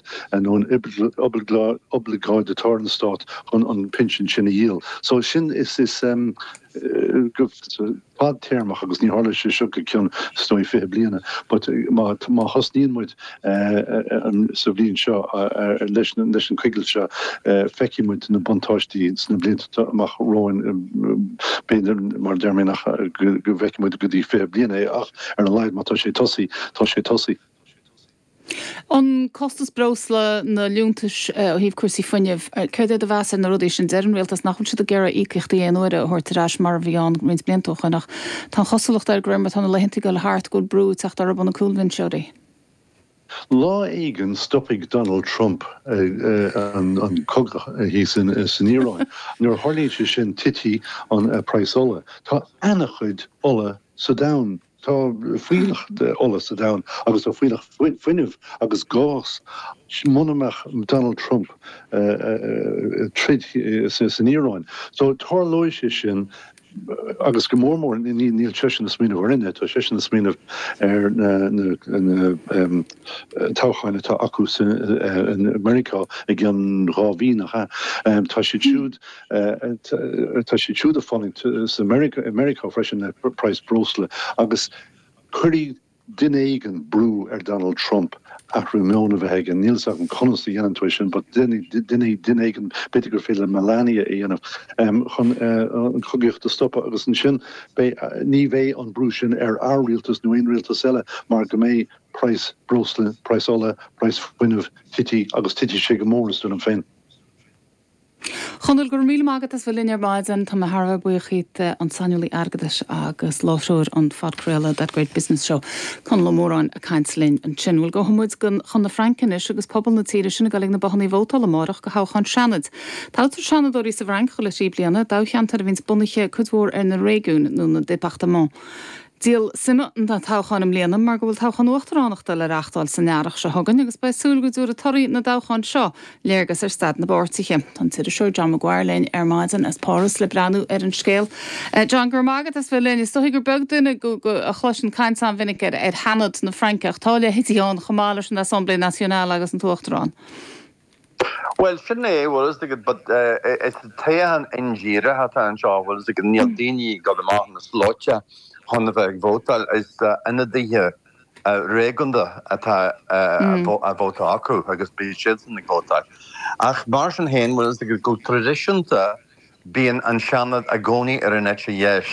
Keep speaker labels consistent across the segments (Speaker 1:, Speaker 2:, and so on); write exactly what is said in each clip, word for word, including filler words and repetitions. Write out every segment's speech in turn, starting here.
Speaker 1: Stát nó an oibleagáid atá ar an Stát chun an pinsean sin a dhíol. So sin is is um, go fadtéarmach agus ní tharlóidh sé seo go ceann is dóigh fiche bliana, but má má thosnaíonn muid sa bhliain seo leis leis an coigilt seo feicfidh muid na buntáistí sna blianta amach romhainn b'fhéidir mar deir mé nach go bhfeicfidh muid go dtí fiche bliana é ach ar a laghad má tá sé tosaithe tá sé tosaithe.
Speaker 2: An costas breosla na liúntais ó thaobh cúrsaí fuinnimh, céard é do mheas ar na rudaí sin deir an rialtas nach bhfuil siad ag iarraidh íocaíochtaí aon uaire a thabhairt ar ais mar a bhí ann roinnt blianta ó shin ach tá an chosúlacht air go mar tá na laethanta ag dul thart go bhfuil brú ag teacht orthu ó na cúlbhinseoirí.
Speaker 1: Lá éigin stopfaidh Donald Trump an an cogadh thíos san Iaráin. Nuair a tharlaíonn sé sin titfidh an praghas ola. Tá an-chuid ola sa domhan Tá fuílleach ola sa domhan agus tá fuílleach fuinnimh agus gás muna mbeadh Donald Trump troid san Iaráin. So tarlóidh sé sin agus go mór mór níl seisean ag smaoineamh orainne, tá seisean ag smaoineamh ar na toghcháin atá acu in Meiriceá i gceann dhá mhí nach ea. Tá siad siúd tá siad siúd ag fulaingt sa Meiriceá freisin le praghas breosla agus cuirfidh duine éigin brú ar Donald Trump athrú meoin a bheith aige. Níl a fhios agam conas a dhéanann tú é sin, but duine duine éigin b'fhéidir gur féidir le Melania a dhéanamh chun an chogaíocht a stopadh agus ansin ní bheidh an brú sin ar ár rialtas nó aon rialtas eile mar go mbeidh praghas breosla, praghas ola, praghas fuinnimh tite agus titfidh sé go mór is dóigh liom féin.
Speaker 2: Chonaill go raibh míle maith agat as bheith linn ar maidin tá mé thar a bheith buíoch díot an saineolaí airgeadais agus láithreoir an phodchraoladh That Great Business Show Conall Ó Móráin ag caint linn ansin. Bhuel gabhfaidh muid chun na Fraince anois agus pobal na tíre sin ag dul ag na bothanna vótála amárach do thoghchán Seanaid. Toghtar seanadóirí sa bhFrainc chuile thrí bliana, toghcheantar a bhíonns bunaithe cuid mhór ar na réigiúin nó na départements. Díol suime na toghcháin i mbliana mar go bhfuil toghchán uachtaránachta le reáchtáil san earrach seo chugainn agus beidh súil go dtabharfaidh torthaí na dtoghchán seo léargas ar staid na bpáirtithe. Tá an t-iriseoir John Maguire linn ar maidin as Páras le breathnú ar an scéal. John go raibh maith agat as bheith linn is dóigh gur beag duine a chloiseann caint an-mhinic ar ar Sheanad na Fraince ach tá leithéidí ann chomh maith leis an Assemblée Nationale agus an tUachtarán.
Speaker 3: Well sin é bhfuil a fhios agat but is toghchán indíreach atá anseo bhfuil a fhios agat níl daoine ag dul amach na slóite chun a bheith ag vótáil is ionadaithe réigiúnda atá a vóta acu agus beidh siadsan ag vótáil. Ach mar sin féin bhfuil a fhios agat go traidisiúnta bíonn an Seanad i gcónaí ar an eite dheis.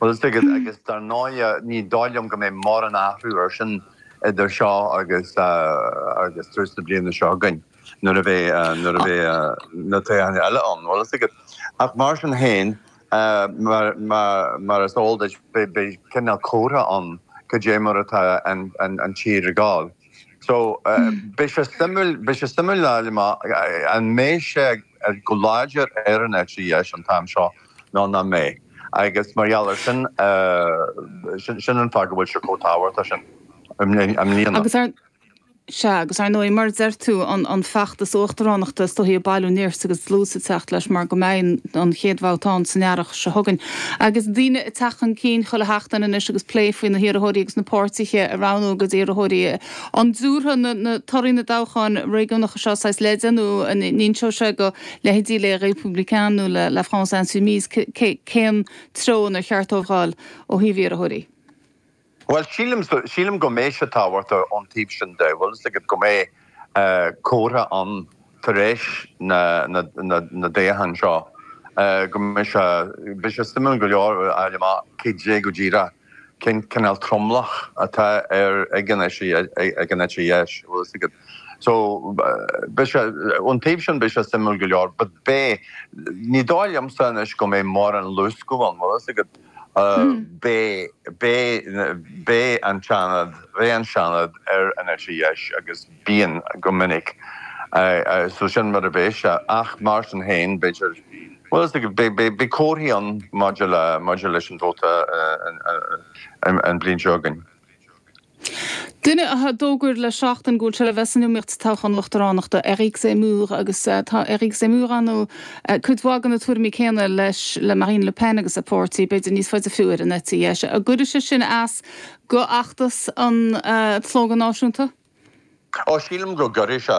Speaker 3: Bhfuil a fhios agat agus dar ndóigh ní dóigh liom go mbeidh mórán athrú ar sin idir seo agus agus tús na bliana seo chugainn nuair a bheidh nuair a bheidh na toghcháin eile ann. Bhfuil a fhios agat. Ach mar sin féin mar mar mar is eol duit beidh cineál comhartha ann cad é mar atá an an tír ag gabháil. So beidh sé suimiúil beidh sé suimiúil a fháil amach an mbeidh sé go láidir ar an eite dheis an t-am seo nó nach mbeidh. Agus mar gheall ar sin sin sin an fáth go bhfuil sé chomh tábhachtach sin i mbliana.
Speaker 2: Agus ar Sea, agus ar ndóigh, mar a deir tú, an an feachtas uachtaránachta is dóichí ag bailiú nirt agus dlús ag teacht leis mar go mbeidh an chéad bhabhta ann san earrach seo chugainn. Agus daoine ag teacht chun cinn chuile sheachtain anois agus plé faoi na hiarrthóirí agus na páirtithe a roghnú a gcuid iarrthóirí. An dtabharfaidh na na torthaí na dtoghchán réigiúnacha seo saghas leide nó an inseoidh sé go leithéidí Les Républicains nó le La France Insoumise cén treo inar cheart dóibh dul ó thaobh iarrthóirí?
Speaker 3: Bhuel, sílim, sílim go mbeidh sé tábhachtach ón taobh sin de, bhfuil a fhios agat go mbeidh comhartha ann tar éis na, na, na, na dtoghchán seo, go mbeidh sé, beidh sé suimiúil go leor a fháil amach cad é go díreach, cén cineál tromlach atá ar, ag an eite, ag an eite dheis, bhfuil a fhios agat. So, beidh sé, ón taobh sin beidh sé suimiúil go leor, but beidh, ní dóigh liomsa anois go mbeidh mórán luascadh ann, bhfuil a fhios agat. Beidh, beidh, beidh an Seanad, beidh an Seanad ar an eite dheis agus bíonn go minic. So sin mar a bheidh sé. Ach mar sin féin, b'fhéidir, bhuel, is dóigh, beidh, beidh, beidh comharthaí ann maidir le, maidir leis an vóta an bhliain seo chugainn.
Speaker 2: Duine a d'fhógair le seachtain go bhfuil sé le bheith san iomaíocht sa toghchán uachtaránachta, Éric Zemmour, agus tá Éric Zemmour ann nó cuid mhaith de na tuairimí céanna leis le Marine Le Pen agus a páirtí, b'fhéidir níos faide fiú ar an eite dheis. An gcuirfidh sé sin as go fheachtas an tSlógadh Náisiúnta?
Speaker 3: Ó, sílim go gcuirfidh sé.